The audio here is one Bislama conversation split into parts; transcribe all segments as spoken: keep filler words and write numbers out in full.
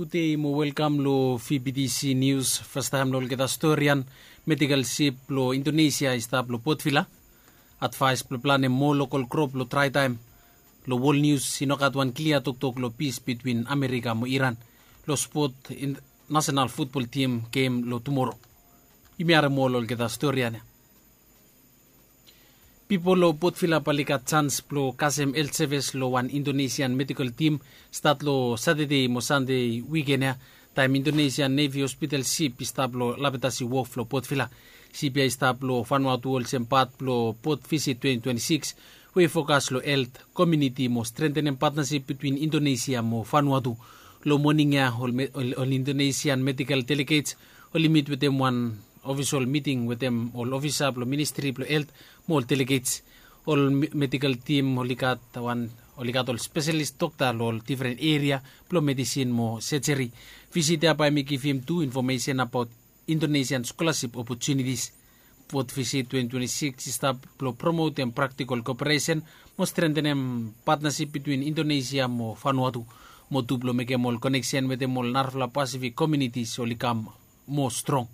Gudei mo welkam long V B T C Nius. Fastaem long olgeta storian, medical sip blong Indonesia i stap long Port Vila. Advaes blong planem moa lokal krop long traetaem. Long wol nius i nogat wan klia toktok long pis bitwin Amerika mo Iran long spot nasenal futbol tim gem long tumoro. Yumi harem ol olgeta storian ya. Pipol long Port Vila bae oli gat sans blong kasem helt sevis long wan Indonesian medikal tim stat long Satade mo Sande wiken ya, taem Indonesian Nevi hospital sip i stap long Lapetasi Wof long Port Vila. Sip ya i stap long Vanuatu olsem pat blong Port Visit twenty twenty-six we i fokas long helt, komuniti mo strentenem patnasip bitwin Indonesia mo Vanuatu. Long moning ya ol Indonesian medikal delegets oli mit wetem wan ofisol miting wetem ol ofisa blong ministri blong helt mo ol delegets. Ol medikal tim oli gat ol spesalis dokta long ol difren eria blong medisin mo sejeri. Visit ya bae hemi givim tu infomesen abaot Indonesian skolasip opotunitis. Port Visit twenty twenty-six i stap blong promotem praktikol koperesen mo strentenem patnasip bitwin Indonesia mo Vanuatu, mo tu blong mekem ol koneksen wetem ol narafala Pasifik komunitis oli kam moa strong.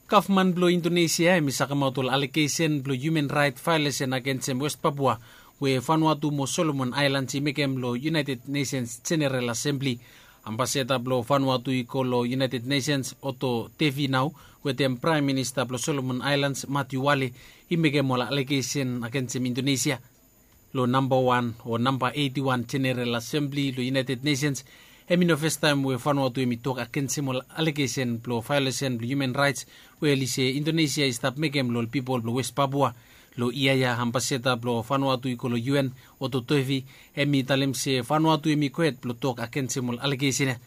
Gavman blong Indonesia hemi sakemaot ol alegesen blong hiuman raet vaelesen agensem West Papua we Vanuatu mo Solomon Aelans i mekem long United Nations Jeneral Asembli. Ambasada blong Vanuatu i go long United Nations Otto Devi nao wetem Praem Minista blong Solomon Aelans Matthew Wale i mekem ol alegesen agensem Indonesia. Long nambawan o namba eitiwan Jeneral Asembli long United Nations, hemi no fastaem we Vanuatu hemi tok agensem ol alegesen blong vaelesen blong hiuman raets we oli se Indonesia i stap mekem long ol pipol blong West Papua. Long yia ya ambasada blong Vanuatu i go long U N, Otto Devi, hemi talem se Vanuatu hemi gohed blong tok agensem ol alegesen ya.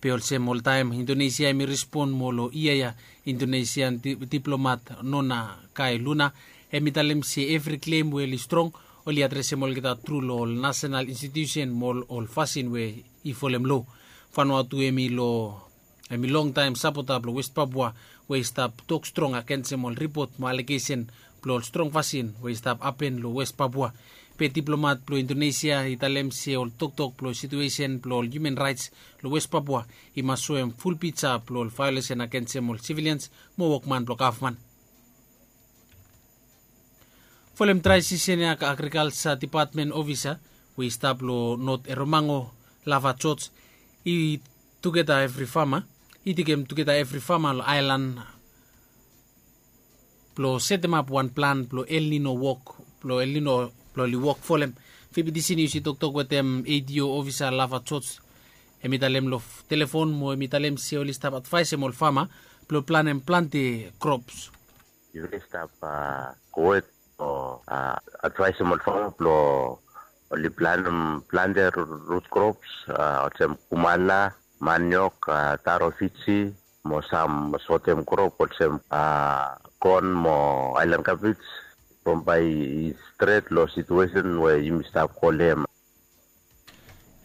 Be olsem oltaem Indonesia hemi respon mo long yia ya Indonesian diplomat Nona Kae Luna hemi talem se evri klem we oli strong oli adresem olgeta tru long ol nasenal institiusen mo ol fasin we i folem loa. Vanuatu hemi long hemi longtaem sapota blong West Papua we i stap tok strong agensem ol ripot mo alegesen blong ol strong fasin we i stap hapen long West Papua. Be diplomat blong Indonesia i talem se ol toktok blong situesen blong ol hiuman raets long West Papua i mas soem ful pija blong ol vaelesen agensem ol sivilians mo wokman blong gavman. Folem drae sisen ya agrikalsa dipatmen ofisa we i stap long Not Eromango, Lava George, i tugeta evri fama i tekem tugeta evri fama long aelan blong setemap wan plan blong El Nino wok blong El Nino blong oli wok folem. V B T C Nius i toktok wetem A D O ofisa Lava George, hemi talem long telefon mo hemi talem se oli stap advaesem ol fama blong planem plante krops. Yufala i stap gowet long advaesem ol fama blong oli planem plante rut krops olsem kumana, maniok, taro Fiji, mo sam sotem krop olsem kon mo aelan kabej. From bae i stret long situesen we yumi stap go long hem.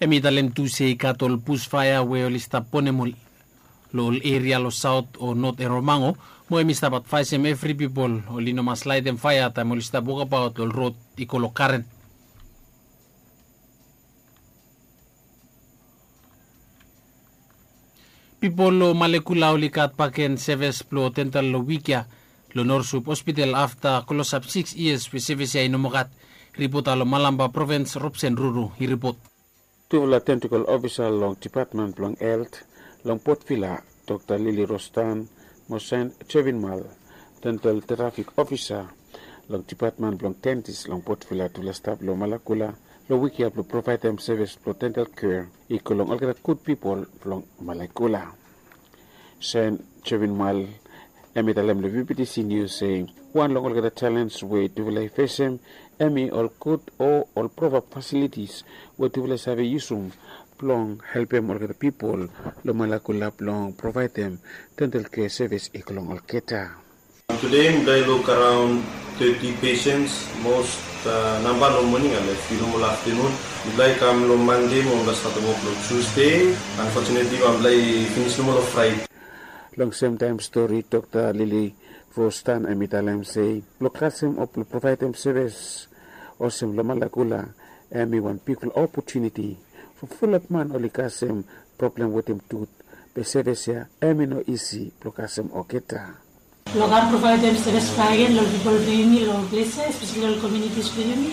Hemi talem tu se i gat ol busfaea we oli stap bonem ol long ol eria long saot o not Eromango, mo hemi stap advaesem evri pipol oli no mas laetem faea taem oli stap wokabaot long rod i go long karen. Pipol long Malekula oli gat bakegen sevis blong dental long wik ya long Norsup Hospital afta klosap sikis yias we sevis ya i no moa gat. Ripota long Malampa provins, Robsen Ruru i ripot. Tufala tentakel ofisa long dipatmen blong helt long Port Vila, Dokta Lili Rostan mo Sen Jevin Mal, dental trafik ofisa long dipatmen blong dentis long Port Vila, tufala stap long Malakula long wik ya blong provaedem sevis blong dental kea i go long olgeta gud pipol blong Malakula. Sen Jevin Mal hemi talem long V B T C Nius se wan long olgeta jalens we tufala i fesem hemi ol gud o ol provap fasilitis we tufala i save yusum blong helpem olgeta pipol long Malakula blong provaedem dental kea sevis i go long olgeta. Tude mipela i luk araon teti pesens, mos namba long moning and a fiu nomo long aftanun. Mipela i kam long Mande mo mipela statem wok long Tusde. Unfortunately mipela i finis nomo long Fraide. Long semtaem stori Dokta Lili Rostan hemi talem se blong kasem o blong provaedem sevis olsem long Malakula hemi wan bigfala opotuniti Fulap man oli kasem problem wetem tut, be sevis ya hem i no isi blong kasem olgeta. Blong kam provaedem sevis bakegen long pipol blong yumi long ples ya, espeseli long komiunitis blong yumi,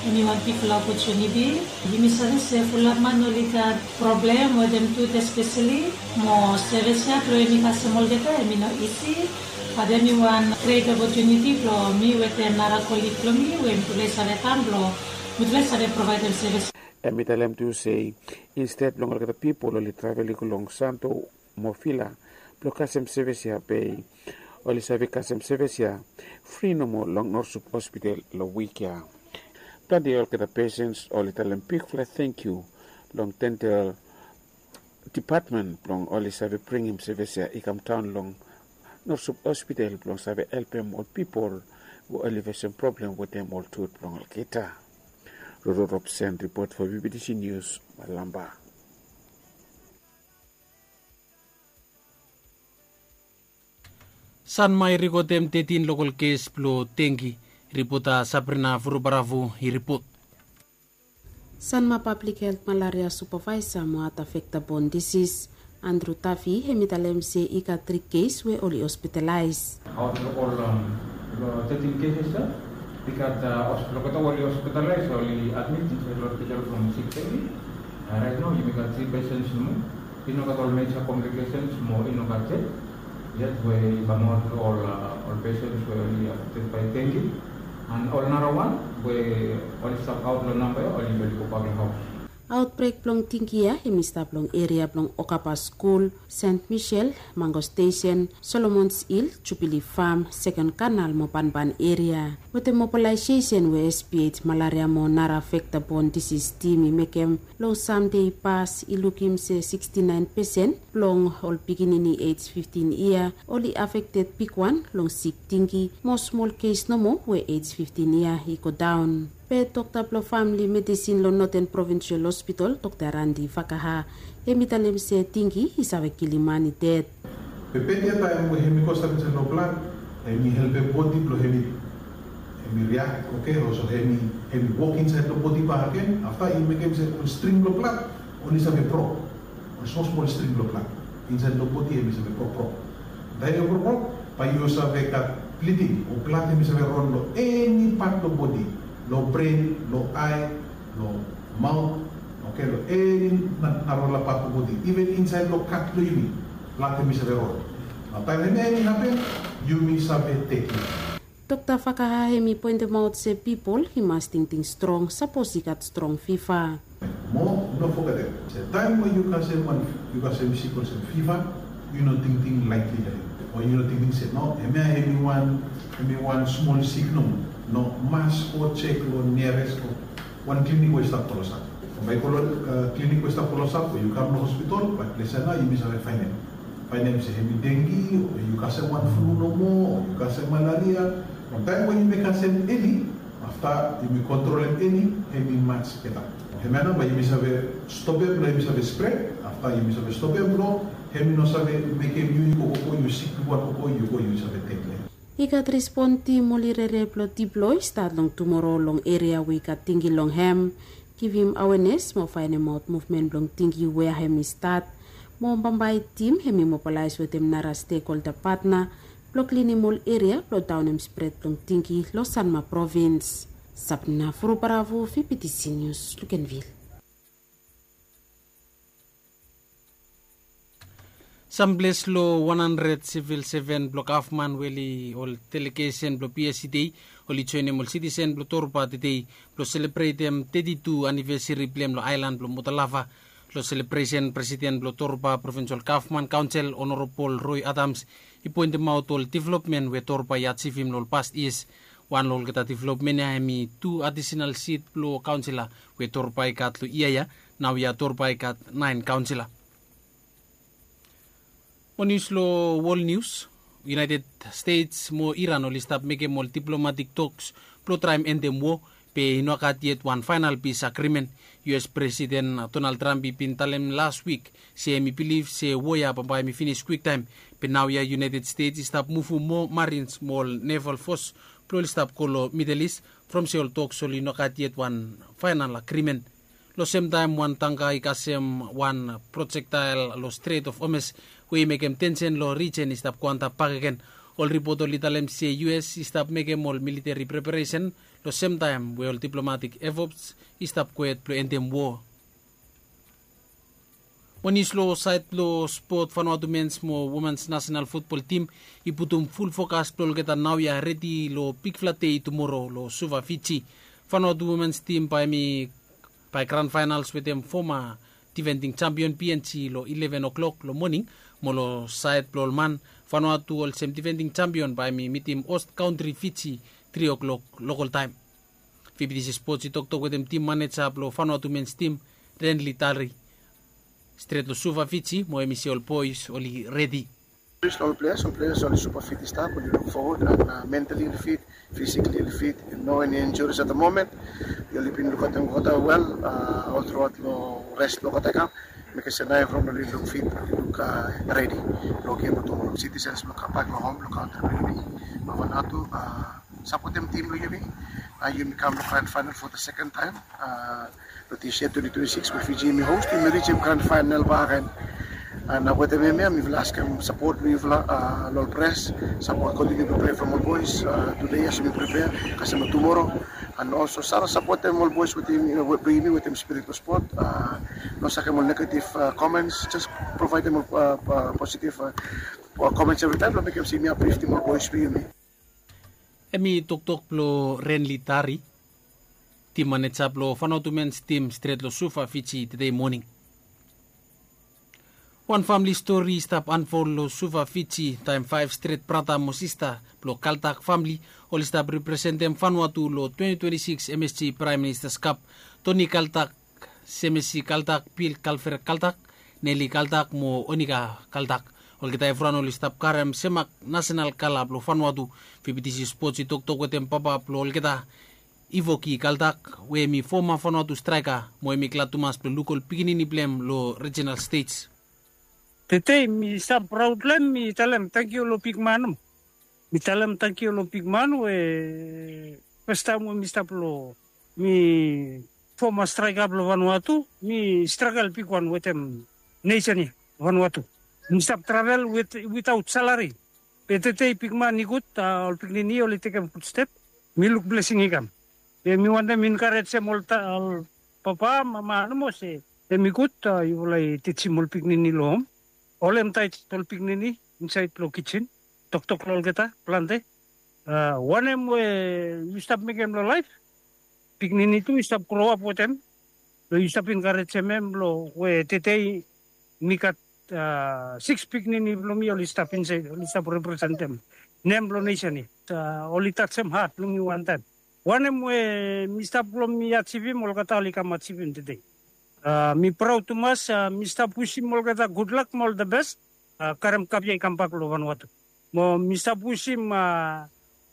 hem i wan bigfala opotuniti. Yumi save se fulap man oli gat problem wetem tut espeseli, mo sevis ya blong yumi kasem olgeta hem i no isi. Bat hem i wan gret opotuniti blong mi wetem nara kolig blong mi we mitufala i save kam blong mitufala i save provaedem sevis. Hem i talem tu se insted blong olgeta pipol oli travel i go long Santo mo Vila blong kasem sevis ya, be oli save kasem sevis ya fri nomo long Norsup Hospital long wik ya. Plante olgeta pesens oli talem bigfala tangkiu long dental dipatmen blong oli save bringim sevis ya i kam daon long Norsup Hospital blong save helpem ol pipol we oli fesem problem wetem ol tut blong olgeta. Roro Robson ripot fo B B T C News, Malamba. Sanma i rekodem tetin lokol kes blong dengi. Ripota Sabrina Vurubaravu i ripot. Sanma Pablik Helt Malaria Supavaesa mo Hat Vekta Bon Disis, Andru Tafi, hem i talem se i gat tri kes we oli hospitalaes. Aot long ol tetin keses ya, i gat olgeta we oli hospitalaes, oli admit insaed long hospital from sik teti. Rait nao yumi gat tri pesens nomo. I no gat ol meja komplikesens mo i no gat ded yet we i kamaot long ol pesens we oli afekted bae dengi. An ol narawan we oli stap aot long namba ya oli gobak long haos. Aotbrek blong dengi ya hem i stap long eria blong Okaba Skul, Sent Misel, Mango Stesen, Solomons Hil, Jubili Fam, Seken Kanal mo banban eria. Wetem mobalaesesen we S P H Malaria mo nara Vekta Bon Disis Tim i mekem long Sande i pas i lukim se siksti naen pesen blong ol pikinini ej fiftin yia oli afekted bigwan long sik dengi, mo smol kes nomo we ej fiftin yia i godaon. Be dokta blong famili medisin long Noten Provinsial Hospital, Dokta Randi Vakaha, hem i talem se dengi i save kilim man i ded. Be beta taem we hem i go stap insaed long blad, hem i helpem bodi blong hem i, hem i riak, oke, olsem hem i, hem i wok insaed long bodi bakegen, afta i mekem se ol string blong blad oli save brok. Ol smol smol string blong blad insaed long bodi hem i save brokbrok. Taem i brokbrok, bae yu save gat bliding o blad hem i save ron long eni pat blong bodi, long bren, long ae, long maot, oke, long eni narafala pat blong bodi, iven insaed long kat blong yumi, blad hem i save ron. Nao taem hemia hem i hapen, yumi save tekem. Dokta Vakaha hem i poentemaot se pipol i mas tingting strong sapos i gat strong fiva. Mo no fogetem se taem we yu kasem wan, yu kasem sik olsem fiva, yu no tingting laetli long hem, o yu no tingting se no, hemia hem i wan, hem i wan smol sik nomo. No, mas go jek long niares o wan klinik we i stap klosap. Bae yu go long klinik we i stap klosap o yu kam long hospital, bae ples ya nao yumi save faenem, faenem se hem i dengi o yu kasem wan flu nomo o yu kasem malaria. Long taem we yumi kasem eli, afta yumi kontrolem eli, hem i mas beta. Hemia nao bae yumi save stopem blong hem i save spred. Afta yumi save stopem blong hem i no save mekem yu, yu go, go, yu sik bigwan, go, go, yu go, yu save ded long hem. I gat respon tim oli rere blong diploi stat long tumoro long eria we i gat dengi long hem, givim awenes mo faenemaot muvmen blong dengi wea hem i stat. Mo bambae tim hem i mobalaes wetem nara stekholda patna blong klinim ol eria blong daonem spred blong dengi long Sanma provins. Sabna Furubaravu, V B T C News, Lukenvil. Samples long wan handred sivil seven blong gavman we oli ol delegesen blong P S C D oli joenem ol sitisen blong Torba tedei blong selebretem teti tu anivesari blong hem long aelan blong Motalava. Long selebresen, presiden blong Torba Provinsol Gavman Kaonsel, Onorabol Roy Adams, i poentemaot ol developmen we Torba i ajivim long ol past yias. Wan long olgeta developmen ya hem i tu adisenal sit blong kaonsela we Torba i gat long yia ya. Naoia Torba i gat naen kaonsela. Mo nius long wol nius, United States mo Iran oli stap mekem ol diplomatik toks blong traem endem wo, be i no gat yet wan faenal pis agrimen. U S Presiden Donald Trump i bin talem las wik se hem i bilif se wo ya bambae hem i finis kwiktaem. Be naoia United States i stap muvum moa marins mo ol neval fos blong oli stap go long Midel Is, from se ol toks oli no gat yet wan faenal agrimen. Long semtaem wan tangka i kasem wan projektael long Strait of Hormuz we i mekem tensen long rijen i stap go antap bakegen. Ol ripot oli talem se U S i stap mekem ol militeri preparesen long semtaem we ol diplomatik efforts i stap kwet blong endem wo. Mo nius long saed blong spot, Vanuatu mens mo womens nasenal futbol tim i putum ful fokas blong olgeta naoia redi long bigfala dei tumoro long Suva, Fiji. Vanuatu womens tim bae hem i bae gran faenals wetem foma difending jampion P N G long ileven o'klok long moning. Mo long saed blong ol man, Vanuatu olsem difending jampion bae hem i mitim host kantri Fiji tri o'klok lokol taem. V B T C Sports i toktok wetem tim maneja blong Vanuatu mens tim, Renly Tari, stret long Suva, Fiji, mo hem i se ol boes oli redi. Ol players, ol players oli supa fit i stap, oli luk fowod, and mentally oli fit, physically oli fit, no any injuries at the moment. Oli bin lukaotem olgeta wel, ol truaot long res blong olgeta i kam. Mekem se naoia evriwan oli luk fit, oli luk redi blong gem blong tumoro. Citizens blong kambak long hom long kantri blong yumi, Vanuatu. Sapotem tim blong yumi. Yumi kam long grand final for the second time long this year, twenty twenty-six, we Fiji yumi host, yumi rijim grand final bakegen. And wetem hemia mifala askem sapot blong yufala, long ol pres, sapot, kontiniu blong prea from ol boes. Tude yumi prepare kasem long tumoro. And also save sapotem ol boes wetem, blong yumi wetem spirit blong spot. No sakem ol negative comments, just provaedem ol positive comments evritaem blong mekem se yumi apliftim ol boes blong yumi. Hemi toktok blong Renly Tari, tim maneja blong Vanuatu mens tim stret long Suva, Fiji, tede moning. Wan famili stori i stap anfol long Suva, Fiji, taem faef stret brata mo sista blong Kaltak famili oli stap representem Vanuatu long twenty twenty-six M S G Prime Minister's Cup. Toni Kaltak, Semesi Kaltak, Bil Kalfer Kaltak, Neli Kaltak mo Onika Kaltak. Olgeta evriwan oli stap karem semak nasenal kala blong Vanuatu. V B T C Sports i toktok wetem papa blong olgeta, Ivoki Kaltak, we hemi foma Vanuatu straeka, mo hemi glad tumas blong luk ol pikinini blong hem long rijinal stej. Tede mi stap praod long hem, mi talem tangkiu long bigman. Mi talem tangkiu long bigman we fastaem we mi stap long, mi foma straeka blong Vanuatu, mi stragel bigwan wetem nesen ya, Vanuatu. Mi stap travel wit, witaot salari. Be tede bigman i gud, ol pikinini oli tekem gud step. Mi luk blesing i kam. Be mi wantem enkarejem ol papa, mama nomo se hemi gud yufala i tijim ol pikinini long hom. Holem taet ol pikinini insaed long kijin. Toktok long olgeta plante wanem we yu stap mekem long laef. Pikinini tu yu stap groap wetem. Long yu stap enkarejem hem long we tede mi gat siks pikinini blong mi oli stap insaed, oli stap representem nem blong nesen ya. Oli tajem hat blong mi wantaem. Wanem we mi stap blong mi ajivim, olgeta oli kam ajivim tede. Mi praod tumas. Mi stap wisim olgeta gudlak mo ol the best. Karem kap ya i kambak long Vanuatu. Mo mi stap wisim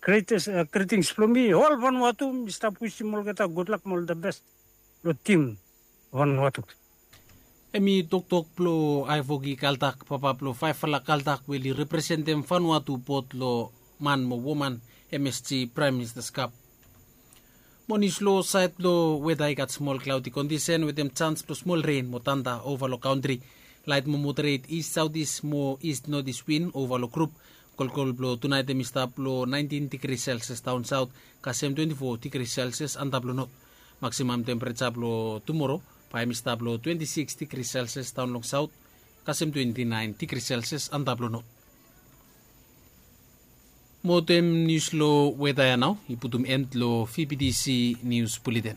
greetings blong mi ol Vanuatu, mi stap wisim olgeta gudlak mo ol the best long tim Vanuatu. Hemi toktok blong Ivoki Kaltak, papa blong faefala Kaltak we oli representem Vanuatu bot long man mo woman M S G Prime Minister's Cup. Mo nius long saed blong weta, i gat smol klaodi kondisen wetem jans blong smol ren mo tanda ova long kantri. Laet mo moderet ist saotis mo ist notis win ova long grup. Kolkol blong tunaet hemi stap long naentin digri selsias daon saot kasem twenti fo digri selsias antap long not. Maksimam tempereja blong tumoro bae hemi stap long twenti siks digri selsias daon long saot kasem twenti naen digri selsias antap long not. Mo wetem nius long weta ya nao i putum en long V B T C Nius Buleten.